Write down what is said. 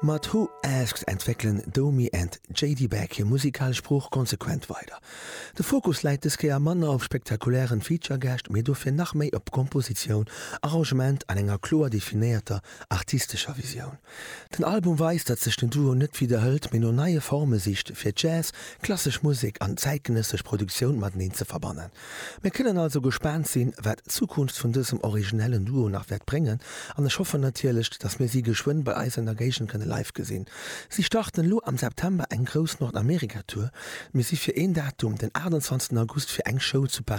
Mat Who Asked entwéckelen Domi and JD Beck hir musikalesch Sprooch konsequent weider. De Fokus läit dës Kéier manner op spektakulären Feature-Gäscht, mee dofir nach méi op Kompositioun, Arrangement an enger kloer definéierter artistescher Visioun. Den Album weist, datt sech den Duo net widderhëlt, mee no neie Forme sicht, fir Jazz, klassesch Musek an zäitgenëssesch Produktioun mateneen ze verbannen. Mir kënnen also gespaant sinn, wat d'Zukunft vun dësem originellen Duo nach wäert bréngen an ech hoffen natierlech, datt mir si geschwënn bei eis an der Géigend kënne live gesinn. Si starten elo am September eng grouss Nordamerika-Tour. Mir si fir een Datum, den 28 August, fir eng Show zu Paräis.